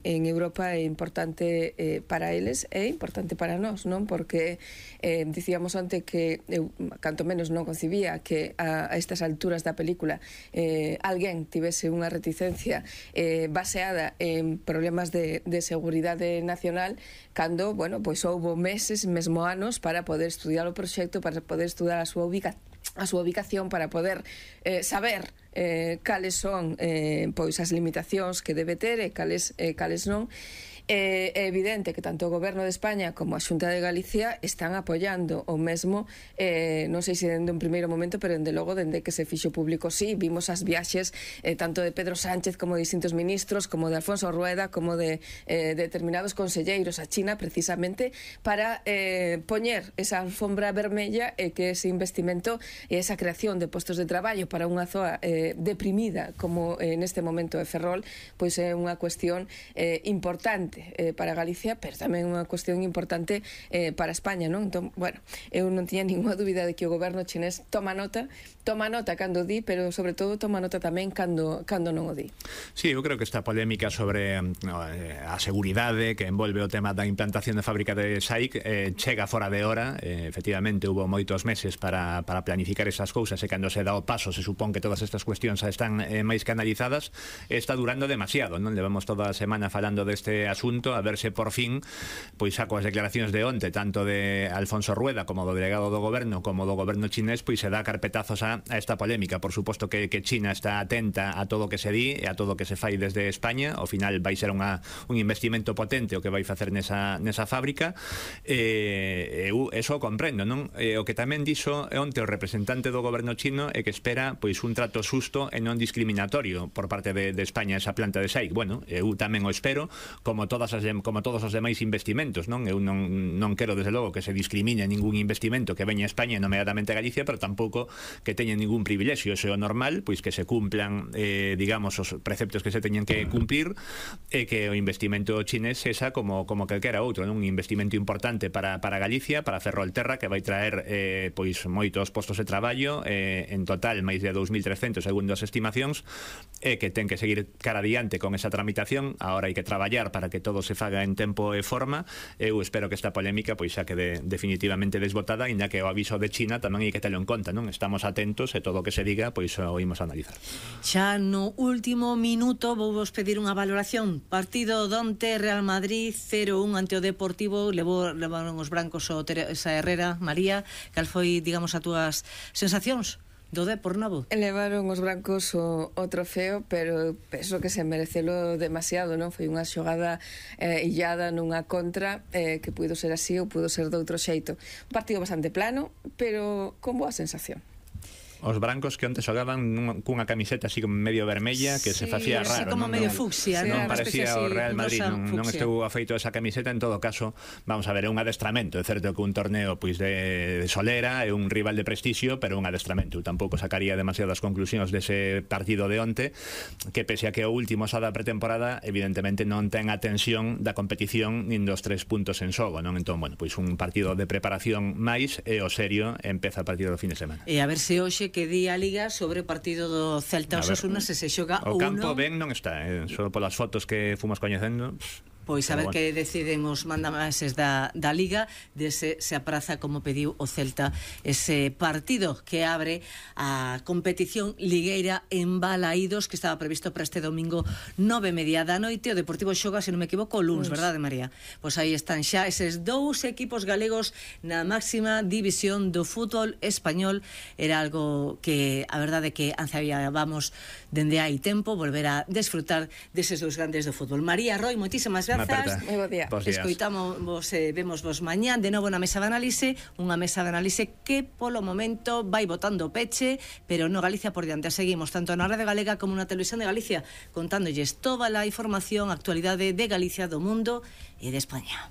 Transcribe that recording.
en Europa é importante para eles e importante para nós, non? Porque dicíamos onte que eu, canto menos, non concibía que a estas alturas da película alguén tivese unha reticencia baseada en problemas de seguridade nacional, cando, bueno, pois houbo meses, mesmo anos, para poder estudiar o proxecto, para poder estudar a súa ubicación, para poder saber cales son pois as limitacións que debe ter e cales non. É evidente que tanto o Goberno de España como a Xunta de Galicia están apoiando o mesmo, non sei se dende un primeiro momento, pero dende logo dende que se fixo público. Sí, vimos as viaxes tanto de Pedro Sánchez como de distintos ministros, como de Alfonso Rueda, como de determinados conselleiros a China, precisamente para poñer esa alfombra vermella e que ese investimento e esa creación de postos de traballo para unha zoa deprimida como neste momento é Ferrol, pois é unha cuestión importante para Galicia, pero tamén unha cuestión importante para España, non? Entón, bueno, eu non tiña ninguna dúbida de que o goberno chinés toma nota cando di, pero sobre todo toma nota tamén cando non o di. Sí, eu creo que esta polémica sobre a seguridade que envolve o tema da implantación de fábrica de SAIC chega fora de hora. Efectivamente, hubo moitos meses para planificar esas cousas e cando se dá o paso se supón que todas estas cuestións están máis canalizadas. Está durando demasiado, non? Levamos toda a semana falando deste asunto, a ver se por fin, pois saco as declaracións de onte, tanto de Alfonso Rueda como do delegado do goberno como do goberno chinés, pois se dá carpetazos a esta polémica. Por suposto que China está atenta a todo o que se di e a todo o que se fai desde España. Ao final vai ser un investimento potente o que vai facer nesa fábrica. Eu eso comprendo, non? O que tamén dixo onte o representante do goberno chino é que espera pois un trato xusto e non discriminatorio por parte de España esa planta de SAIC. Bueno, eu tamén o espero, como todos os demais investimentos, non? Eu non quero, desde logo, que se discrimine ningún investimento que veña a España, nomeadamente a Galicia, pero tampouco que teña ningún privilexio. Eso é o normal, pois que se cumplan, digamos, os preceptos que se teñen que cumplir, e que o investimento chinés sexa como calquera outro, non? Un investimento importante para Galicia, para Ferrolterra, que vai traer pois moitos postos de traballo, en total máis de 2.300 segundo as estimacións, e que ten que seguir cara adiante con esa tramitación. Agora hai que traballar para que todo se faga en tempo e forma. Eu espero que esta polémica pois xa quede definitivamente desbotada, inda que o aviso de China tamén hai que telo en conta, non? Estamos atentos e todo o que se diga pois o imos a analizar. Xa no último minuto vou vos pedir unha valoración. Partido donte, Real Madrid 0-1 ante o Deportivo, levaron os brancos o Teresa Herrera. María, cal foi, digamos, as túas sensacións do Depor novo? Levaron os brancos o trofeo, pero penso que se merecelo demasiado, non? Foi unha xogada illada nunha contra que puido ser así ou puido ser de outro xeito. Un partido bastante plano, pero con boa sensación. Os brancos que onte xogaban cunha camiseta así como medio vermella, que se facía raro, así como medio fucsia, non parecía o Real Madrid, non estou afeito esa camiseta. En todo caso, vamos a ver, é un adestramento. É certo que un torneo pois de solera, é un rival de prestixio, pero un adestramento. Eu tampouco sacaría demasiadas conclusións dese partido de onte, que pese a que o último xa da pretemporada, evidentemente non ten a tensión da competición nin dos 3 puntos en xogo, non? Entón, bueno, pois un partido de preparación máis, e o serio empeza a partir do fin de semana. E a ver se hoxe que di a Liga sobre o partido do Celta Osasuna, se xoga o campo ben non está, só polas fotos que fomos coñecendo. Pois a ver que deciden os mandamases da Liga, se apraza, como pediu o Celta, ese partido que abre a competición ligueira en Balaídos, que estaba previsto para este domingo 9:30 da noite. O Deportivo xoga, se non me equivoco, o luns, verdade, María? Pois aí están xa eses dous equipos galegos na máxima división do fútbol español. Era algo que, a verdade, que ansiábamos dende hai tempo, volver a desfrutar deses dous grandes do fútbol. María Roy, moitísimas grazas. Moi bo día. Escoitamos, vemos vos mañán de novo na mesa de análise, unha mesa de análise que polo momento vai botando peche, pero no Galicia por diante. Seguimos tanto na Radio Galega como na Televisión de Galicia, contándolles toda a información, actualidade de Galicia, do mundo e de España.